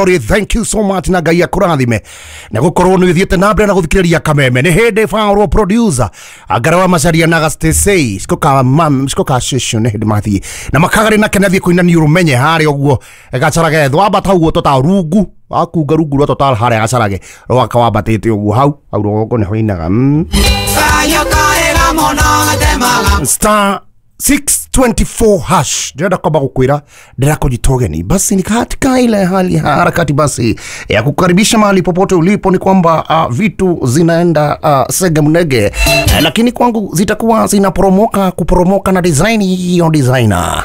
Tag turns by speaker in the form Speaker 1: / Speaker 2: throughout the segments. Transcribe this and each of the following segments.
Speaker 1: Thank you so much na Ngai akũrathime na gũkorwo nĩ ũthiĩte na mbere na gũthikĩrĩria Kameme. Nĩ hĩndĩ Faũrwo producer Ngara wa Macaria na Gastesei cikoka mam cikoka shesho nĩ hĩndĩ mathiĩ na makagarĩ na kenathiĩ kũina nĩ ũrũmenye harĩa ũguo Gacarage thwambata ũguo total rungu wakunga rungu rwa total harĩa Gacarage rwaka wambatĩte ũguo hau hau rũgongo nĩho inaga Star 624 hash. Ndĩrenda kwamba gũkwĩra ndĩrakũnyita ũgeni basi ni katika ile hali ya harakati basi ya kukaribisha mahali popote ulipo, ni kwamba vitu zinaenda sege mnege, lakini kwangu zitakuwa zinaporomoka kuporomoka na design hiyo designer.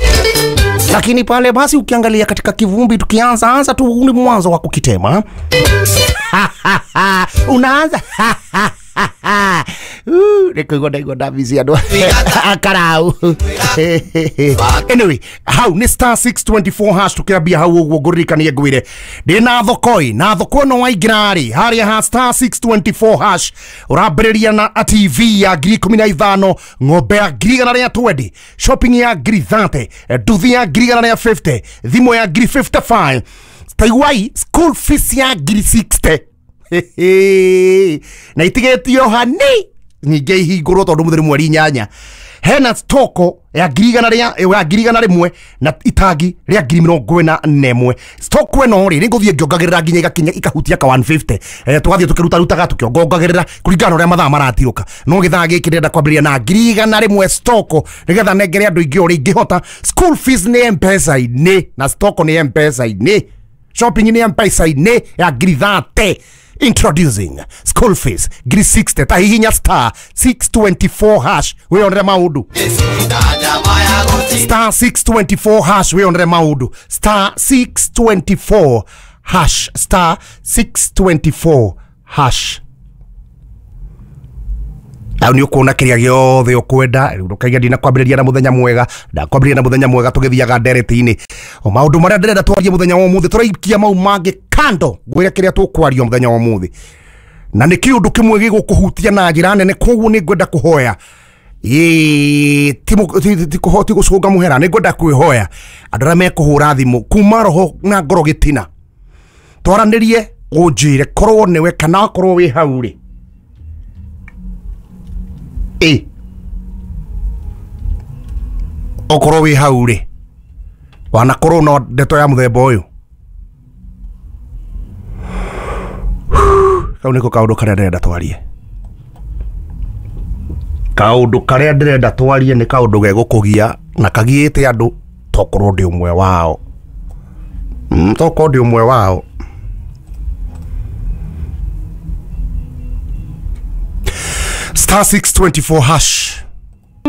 Speaker 1: Lakini pale basi ukiangalia katika kivumbi tukianza anza tu ni mwanzo wa kukitema. Unaanza nikuigua ndaigua ndabici andũ akarau. Anyway, hau nĩ star 624 hash tukiambia hau ũguo ngũririkanie ngwĩre ndĩna thokoi na thoko ĩno waingĩra rĩ harĩa ha star 624 hash ũrambĩrĩria na TV ya 15,000, ng'ombe ya 120,000, shopping ya 30,000, nduthi ya 150,000, thimũ ya 55,000, taiguai school fees ya 60,000. Na itigetio hani nyingĩ ihingũrwo tondũ mũtheri mweri 8 hena stoko ya 100,000 na itangi rĩa 41,000. Stoko ĩno rĩ nĩngũthiĩ ngĩongagĩrĩra nginya igakinya ikahutia ka 150. Tũgathiĩ tũkĩrutarutaga tũkĩongongagĩrĩra kũringana na ũrĩa mathaa maratirũka. No gĩthaa gĩkĩ ndĩrenda kwambĩrĩria na 100,000 stoko nĩgetha nengere andũ aingĩ ũrĩa ingĩhota. School fees nĩ M-Pesa-inĩ na stoko nĩ M-Pesa-inĩ, shopping nĩ M-Pesa-inĩ ya 30,000. Introducing school fees 60,000. Tahihinya star 624 hash wionere maundu. Star 624 hash wionere maundu. Star 624 hash. Star 624 hash. Au nĩ ũkuona kĩrĩa gĩothe ũkwenda. Ndũkaiga ndinakwambĩrĩria na mũthenya mwega, ndakwambĩrĩria na mũthenya mwega tũgĩthiaga ndereti-inĩ. O maũndũ marĩa ndĩrenda twarie mũthenya wa ũmũthĩ tũraikia mau mangĩ kando ngwĩre kĩrĩa tũkwaria mũthenya wa ũmũthĩ, na nĩ kĩũndũ kĩmwe gĩgũkũhutia na njĩra nene. Koguo nĩ ngwenda kũhoya ti gũcũnga mũhera, nĩ ngwenda kwĩhoya andũ arĩa mekũhũra thimũ kuma roho na ngoro gĩtina, twaranĩrie ũnjĩre korwo nĩwe kana akorwo wĩ hau rĩ okorwo wĩ hau rĩ wanakorwo no ndeto ya mũthemba ũyũ. Kau nĩko kaũndũ karĩa ndĩrenda twarie. Kaũndũ karĩa ndĩrenda twarie nĩ kaũndũ gegũkũgia na kagiĩte andũ, tokorwo ndĩ ũmwe wao. Tokorwo ndĩ ũmwe wao. Star 624 hash.